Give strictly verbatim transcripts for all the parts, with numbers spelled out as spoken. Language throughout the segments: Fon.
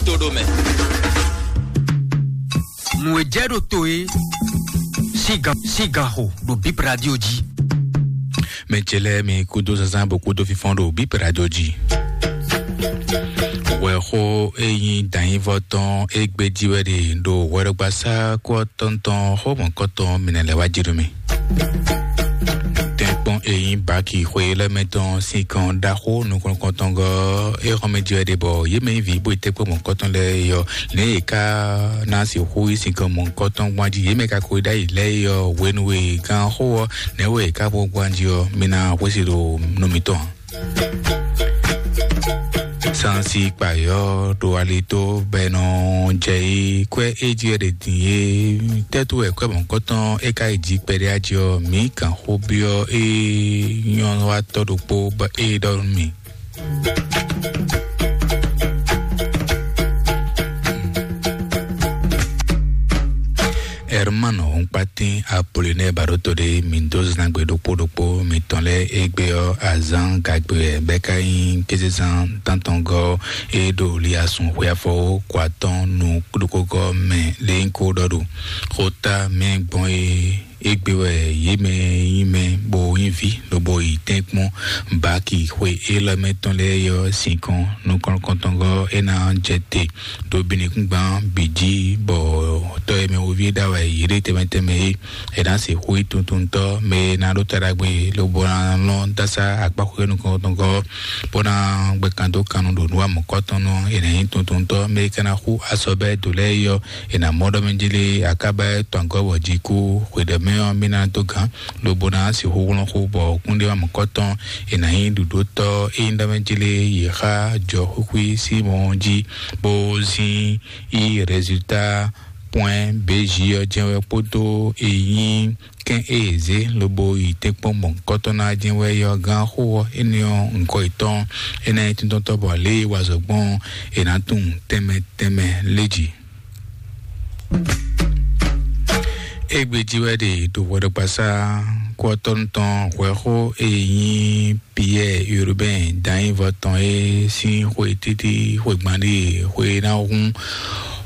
Todomɛ. Nǔ e jɛ ɖo to e sígan sígan xo ɖo Bip Radio jí. Mɛ ce lɛ́ɛ mi kúdó zazán bó kúdó fínfɔ́n ɖo Bip Radio jí. Wɛxó e nyí dǎnyívɔ tɔn e gbé jí wɛ ɖe ɖo hwɛɖɔgbasá kú ɔ́ tɔn tɔn xó mɔ̌kɔtɔn mǐnɛ lɛ́ wá jí nú mì. Tɛ́nkpɔ́n e nyí baki xwe lɛ́ɛ mɛ tɔn sín kan ɖaxó nukɔntɔngɔ́ e xɔ́n mɛ jí wɛ ɖe bɔ yě mɛ nyí vǐ bó yi tɛ́nkpɔ́n mɔ̌kɔtɔn lɛ́ɛ é ɔ́, nɛ̌ yě ká ná sixú yí sin kan mɔ̌kɔtɔn gbɔn jí? Yě mɛ ka ko yi ɖ'ayǐ lɛ́ɛ é ɔ́, hwenu e gǎn xó ɔ́, nɛ̌ wɛ yě ká xo gbɔn jí ɔ́? Mi ná xwésí ɖo nú mitɔn ǎ. Sansi kpayɔ́ ɖo alitó bɔ è nɔ jɛ yi kwɛ́ é jí wɛ ɖe din é. Tɛ́tú wɛ kwɛ́ mɔ̌kɔtɔn é ka yi jí kpɛɖé ají ɔ́, mǐ kan xó byɔ́ é nyɔ́ wá tɔ́ ɖokpó bɔ é ɖɔ nú mì. Hermano Nkpatin Apollinaire Baɖoto ɖé mi dó zangbe ɖokpó ɖokpó mitɔn lɛ́ɛ égbé ɔ́, azǎn gagbe wɛ bɛ́ ká nyí kézezán tántɔngɔ́ e ɖo liasun xwe afɔwó kɔ atɔ́ɔ́n nú ɖokógɔ́ mɛ lé nyí kó ɖɔ ɖo xota mɛ gbɔn é. Égbé wɛ yě mɛ nyí mɛ bó nyí vǐ lobo yi tɛ́nkpɔ́n baki xwe élɔ́ mɛ tɔn lɛ́ɛ ɔ́ sinkɔn nukɔntɔngɔ́ é ná jɛ te ɖo binukúngban bǐ jí, bɔ tɔ́ e mɛ woví é ɖa wɛ yě ɖe tɛnmɛ tɛnmɛ é, è nǎ sixú yi tuntuntɔ́ mɛ e ná ɖó ta ɖagbe lobo ná lɔn dásá akpáxwé nukɔntɔngɔ́ bó ná gbɛ́ kan dó kannú ɖo nǔ wa mɔ̌kɔtɔn nú è nǎ nyí tuntuntɔ́ mɛ e ka ná xú asɔbɛ́ dǒ lɛ́ɛ é ɔ́, è nǎ mɔ ɖɔ mɛ jí lé akába tɔn gɔ́ bɔ jí kú xwedɛmɛ ɔ́ mì ná dó gǎn, lobo ná sixú hlɔ́n xó bɔ kúnɖéwámɔ̌kɔtɔn è nǎ nyí ɖuɖótɔ́ é nyí ɖɔ mɛ jí lé yě xá jɔ xwíxwí sín mɔ jí bó zín yi résultat point B J ɔ́ jɛ́n wɛ kpódó e nyí kɛ́n e è zě lobo yi tɛ́nkpɔ́n mɔ̌kɔtɔn ná jɛ́n wɛ yɔ gán xó ɔ́ énɛ́ ɔ́ ŋkɔ yětɔn é ná nyí tíntɔ́ntɔ́ bɔ lě e wa zɔ gbɔn ɔ́, è nǎ tunwun tɛnmɛ tɛnmɛ lé jǐ. Égbé jí wɛ ɖe ɖo hwɛɖɔgbasá kú ɔ́ tɔn tɔn hwɛxó e nyí Pierre Urbain Danyivɔ tɔn é sín xwe títí xwe gban ɖíe xwe ná hún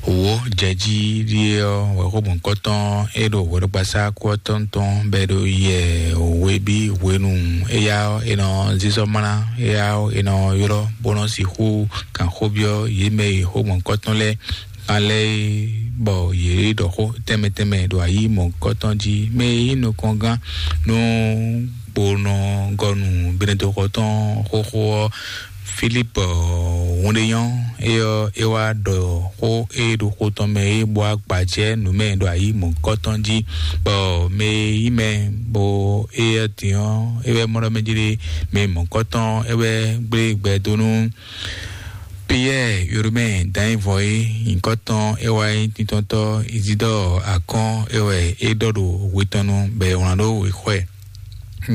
wǒ jɛ jí ɖíe ɔ́, wɛ̌xɔ́mɔkɔ́tɔn é ɖo hwɛɖɔgbasá kú ɔ́ tɔn tɔn bɔ é ɖo yɛ hwebí hwenu éyá ɔ́, è nɔ zízɔ́ mlá éyá ɔ́, è nɔ ylɔ́ bó nɔ́ sixú kan xó byɔ́ yě mɛ e xó mɔ̌kɔtɔn lɛ́ɛ kan lɛ́ɛ é, bɔ yě ɖɔ xó tɛnmɛ tɛnmɛ ɖo ayǐ mɔ̌kɔtɔn jí. Mɛ e nyí nukɔngán nú kponɔgɔnu Benedɔxɔtɔn xóxó ɔ́, Filipu Hunɖenyɔ, é ɔ́, é wá ɖɔ xó e ɖo xó tɔn mɛ é bó wá gbajɛ nǔ mɛ ɖo ayǐ mɔ̌kɔtɔn jí, bɔ mɛ e nyí mɛ bó éyɛ́ din ɔ́, é wɛ mɔ ɖɔ mɛ jí ɖé mɛ mɔ̌kɔtɔn é wɛ gblé gbɛ dó nú Piyɛ́ɛ Yoromɛ Danyivɔ é nyǐkɔ tɔn é wá nyí tintɔntɔ́ Izidɔ́ɔ Akɔ́n é wɛ é ɖɔ ɖo hwe tɔn nu bɔ è wlán ɖó wěxɔ ɛ.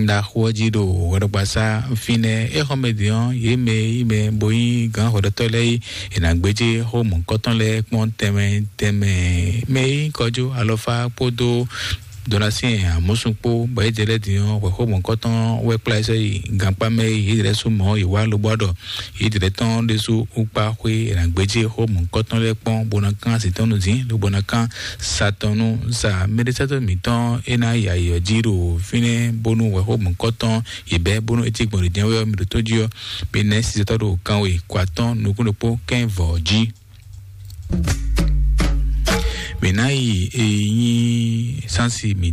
Ɖaxó ɔ́ jí ɖo hwɛɖɔgbasá fínɛ́. É xɔ mɛ din ɔ́, yě mɛ e nyí mɛ bó nyí gǎn hwɛɖɔtɔ́ lɛ́ɛ é, è nǎ gbéjé xó mɔ̌kɔtɔn lɛ́ɛ kpɔ́n tɛnmɛ tɛnmɛ. Mɛ e nyí kɔjú alɔfá kpódó Donatien Amusu kpó bɔ é jɛ lɛ́ din ɔ́, hwɛxó mɔ̌kɔtɔn wɛ kplá ɛ sɔ́ yi gankpá mɛ e yě lɛ́ sú mɔ̌ yě wá lobɔ ɖɔ yě lɛ́ tɔn ɖésú wú kpá xwé è nǎ gbéjé xó mɔ̌kɔtɔn lɛ́ɛ kpɔ́n bó ná kán así tɔn nú dín, lobo ná kán sa tɔn nú sa mɛɖésátɔ́ mǐtɔn é ná yi ayǐ ɔ́ jí ɖo fínɛ́ bónú hwɛxó mɔ̌kɔtɔn yě bɛ́ bónú é cí gbɔn ɖě jɛ́n wɛ ɔ́ mi ɖótó jí ɔ́, mi nɛ́ sisɛtɔ́ ɖo kanwe kó atɔ́ɔ́n nukún ɖokpó kɛ́n vɔ̌ jí. Mǐ ná yi e nyí sánsì mǐtɔn